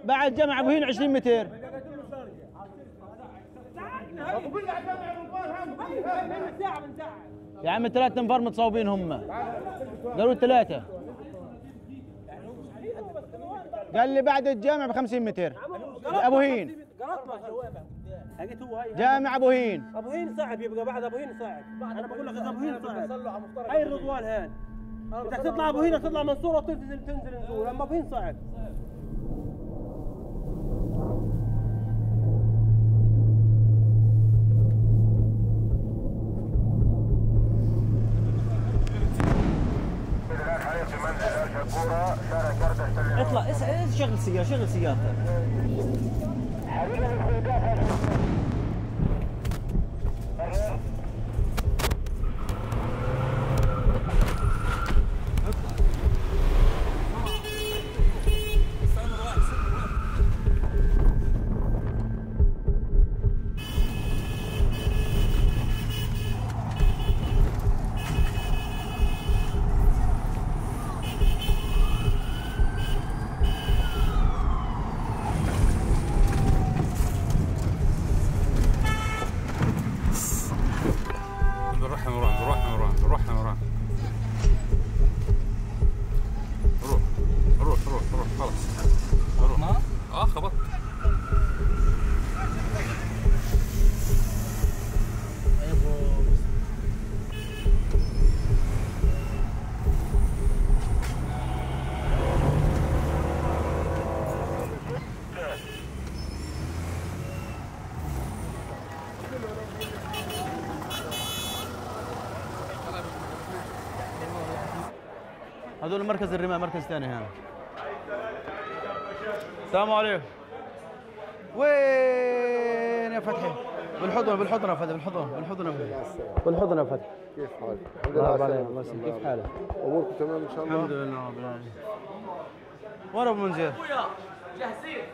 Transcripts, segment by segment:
بعد جامع ابو هين 20 متر. يا عم 3 انفار متصوبين هم. قالوا 3. قال لي بعد الجامع ب 50 متر. ابو هين. جامع ابو هين. ابو هين صعب، يبقى بعد ابو هين صعب. انا بقول لك ابو هين صعب. هاي الرضوان هان. بدك تطلع ابو هين تطلع منصوره وتنزل نزول، اما ابو هين صعب. اطلع شغل سيارة، شغل سيارتك. روح خلاص. روح. خبط. هذول مركز الرماية، مركز ثاني هنا. السلام عليكم. وين يا فتحي؟ بالحضن بالحضن يا فتحي، بالحضن بالحضن يا فتحي. بالحضن يا فتحي. كيف حالك؟ الحمد لله. الله يسلمك، كيف حالك؟ اموركم تمام ان شاء الله؟ الحمد لله رب العالمين. وين ابو منذر؟ ابويا جاهزين.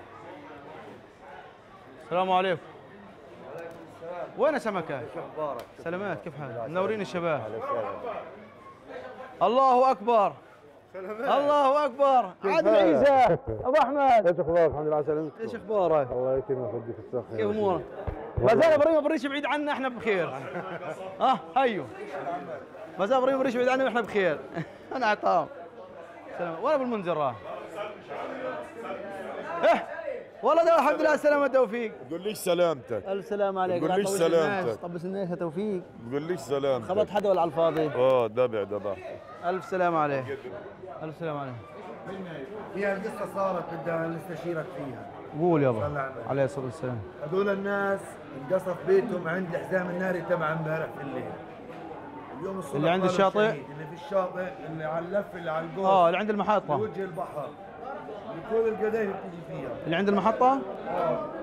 السلام عليكم. وين سمكة؟ ايش اخبارك؟ سلامات، كيف حالك؟ منورين الشباب. الله اكبر. الله اكبر. عادل عيسى ابو احمد. ايش اخبارك؟ الحمد لله على سلامتك. ايش اخبارك؟ الله يكرمك ويديك الصحة. كيف امورك؟ ما زال ابراهيم بريش بعيد عنا، احنا بخير. هيو. ما زال ابراهيم بريش بعيد عنا واحنا بخير. انا عطام. سلام. وين ابو المنذر راح؟ والله ده الحمد لله على السلامة توفيق. بقول ليش سلامتك؟ الف سلامة عليك. بقول ليش سلامتك؟ طبس الناس يا توفيق. بقول ليش سلامتك؟ خبط حدا ولا على الفاضي؟ دبع. الف سلامة عليك. الف سلامة عليك. فيها القصة صارت بدها نستشيرك فيها. قول يابا. عليه الصلاة والسلام. هذول الناس انقصف بيتهم عند الحزام الناري تبع امبارح في الليل. اليوم الصبح اللي عند الشاطئ؟ اللي في الشاطئ، اللي على اللف، اللي على الجول. اللي عند المحطة. في وجه البحر. اللي كل القذايف بتيجي فيها. اللي عند المحطة؟